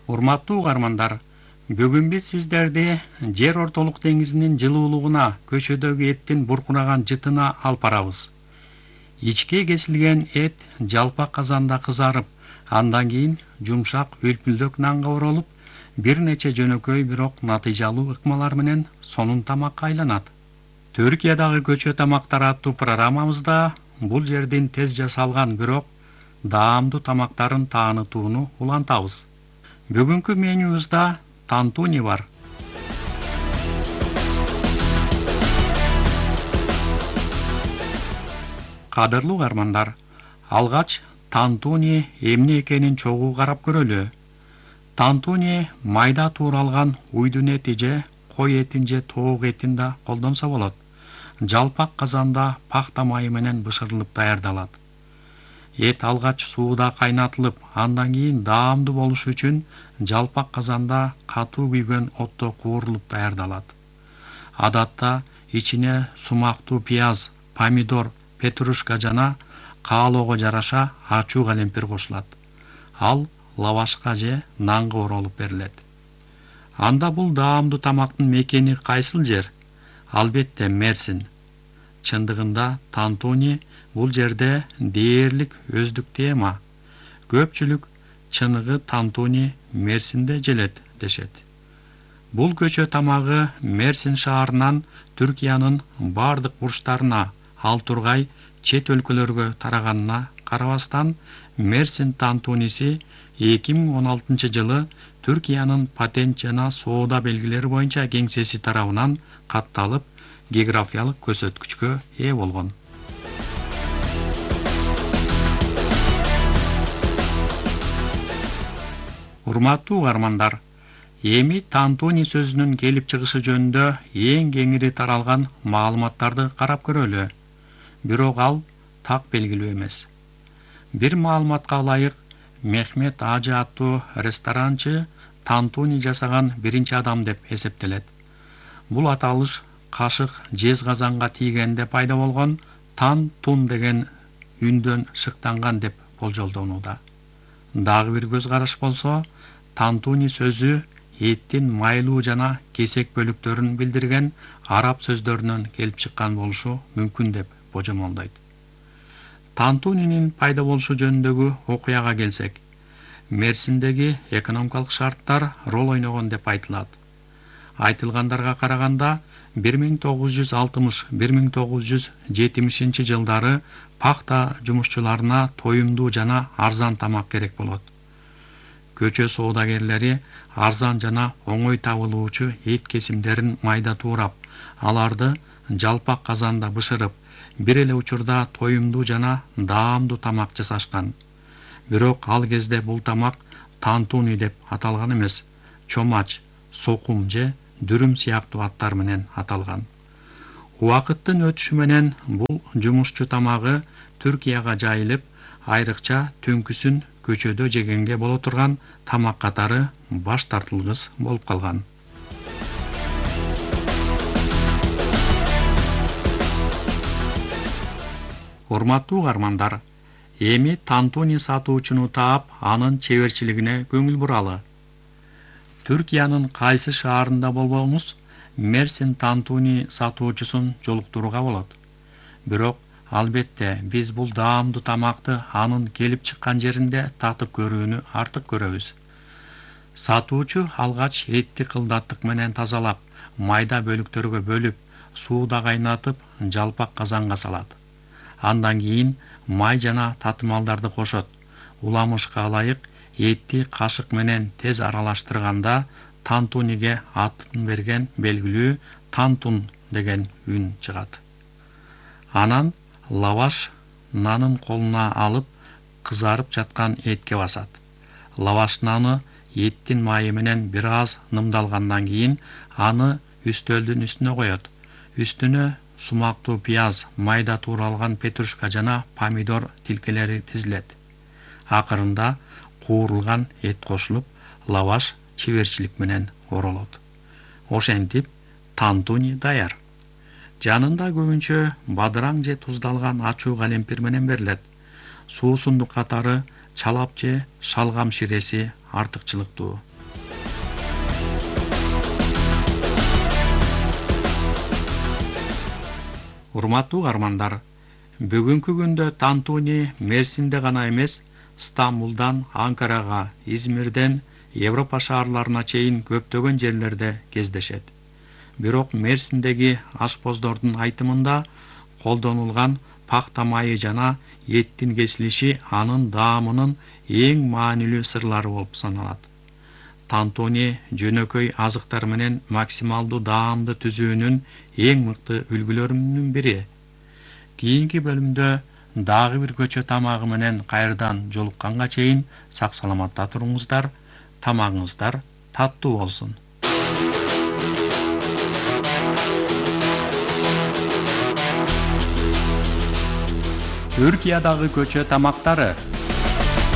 Урматтуу угармандар, бүгүн биз сиздерди жер ортолук деңизинин жылуулугуна, көчөдөгү эттин буркураган жытына алып барабыз. Ичке кесилген эт жалпак казанда кызарып, андан кийин жумшак үлпүлдөк нанга оролуп, бир нече жөнөкөй бирок натыйжалуу ыкмалар менен сонун тамакка айланат. Түркиядагы көчө тамактар аттуу программабызда бул жердин тез жасалган бирок даамдуу тамактарын таанытууну улантабыз. Бүгүнкү менюбузда тантуни бар. Кадырлуу угармандар, алгач тантуни эмне экенин чогуу карап көрөлү. Тантуни майда тууралган уйдун эти же кой этин же тоок этин да колдонсо болот. Жалпак казанда пахта майы менен бышырылып даярдалат. Эт алгач сууда кайнатылып, андан кийин даамдуу болушу үчүн жалпак казанда катуу күйгөн отто куурулуп даярдалат. Адатта ичине сумактуу пияз, помидор, петрушка жана каалоого жараша ачуу калемпир кошулат. Ал лавашка же нанга оролуп берилет. Анда бул даамдуу тамактын мекени кайсыл жер? Албетте Мерсин. Чындыгында тантуни бул жерде дээрлик өздүк тема. Көпчүлүк чыныгы тантуни Мерсинде желет дешет. Бул көчө тамагы Мерсин шаарынан Түркиянын бардык бурчтарына, ал тургай чет өлкөлөргө тараганына карабастан, Мерсин тантуниси 2016-жылы Түркиянын патент жана соода белгилери боюнча кеңсеси тарабынан катталып, географиялык көрсөткүчкө ээ болгон. Урматтуу угармандар, эми тантуни сөзүнүн келип чыгышы жөнүндө эң кеңири таралган маалыматтарды карап көрөлү. Бирок ал так белгилүү эмес. Бир маалыматка ылайык, Мехмет Ажы аттуу ресторанчы тантуни жасаган биринчи адам деп эсептелет. Бул аталыш кашык жез казанга тийгенде пайда болгон тан-тун деген үндөн шыктанган деп болжолдонууда. Дагы бир көз караш болсо, тантуни сөзү эттин майлуу жана кесек бөлүктөрүн билдирген араб сөздөрүнөн келип чыккан болушу мүмкүн деп божомолдойт. Тантунинин пайда болушу жөнүндөгү окуяга келсек, Мерсиндеги экономикалык шарттар рол ойногон деп айтылат. Айтылгандарга караганда 1960-1970 жылдары пахта жумушчуларына тоюмдуу жана арзан тамак керек болот. Көчө соодагерлери арзан жана оңой табылуучу эт кесимдерин майда туурап, аларды жалпак казанда бышырып, бир эле учурда тоюмдуу жана даамдуу тамак жасашкан. Бирок ал кезде бул тамак тантуни деп аталган эмес, чомач, сокум же дүрүм сыяктуу аттар менен аталган. Убакыттын өтүшү менен бул жумушчу тамагы Түркияга жайылып, айрыкча түнкүсүн көчөдө жегенге боло турган тамак катары баш тартылгыс болуп калган. Урматтуу угармандар, эми тантуни сатуучуну таап, анын чеберчилигине көңүл буралы. Түркиянын кайсы шаарында болбоңуз, Мерсин тантуни сатуучусун жолуктурууга болот. Бирок албетте биз бул даамдуу тамакты анын келип чыккан жеринде татып көрүүнү артык көрөбүз. Сатуучу алгач этти кылдаттык менен тазалап, майда бөлүктөргө бөлүп, сууда кайнатып, жалпак казанга салат. Андан кийин май жана татымалдарды кошот. Уламышка ылайык этти кашык менен тез аралаштырганда тантуниге атын берген белгилүү тантун деген үн чыгат. Анан лаваш нанын колуна алып, кызарып жаткан этке басат. Лаваш наны эттин майы менен бир аз нымдалгандан кийин аны үстөлдүн үстүнө коет. Үстүнө сумактуу пияз, майда тууралган петрушка жана помидор тилкелери тизилет. Акырында куурулган эт кошулуп, лаваш чеберчилик менен оролот. Ошентип тантуни даяр. Жанында көбүнчө бадыраң же туздалган ачуу калемпир менен берилет. Суусундук катары чалап же шалгам ширеси артыкчылыктуу. Урматтуу каармандар, бүгүнкү күндө Тантуни Мерсинде гана эмес, Стамбулдан Анкарага, Измирден Европа шаарларына чейин көптөгөн жерлерде кездешет. Бирок Мерсиндеги ашпоздордун айтымында колдонулган пахта майы жана эттин кесилиши анын даамынын эң маанилүү сырлары болуп саналат. Тантуни жөнөкөй азыктар менен максималдуу даамды түзүүнүн эң мыкты үлгүлөрүнүн бири. Кийинки бөлүмдө дагы бир көчө тамагы менен кайрадан жолукканга чейин сак саламатта туруңуздар, тамагыңыздар таттуу болсун. Түркиядагы көчө тамактары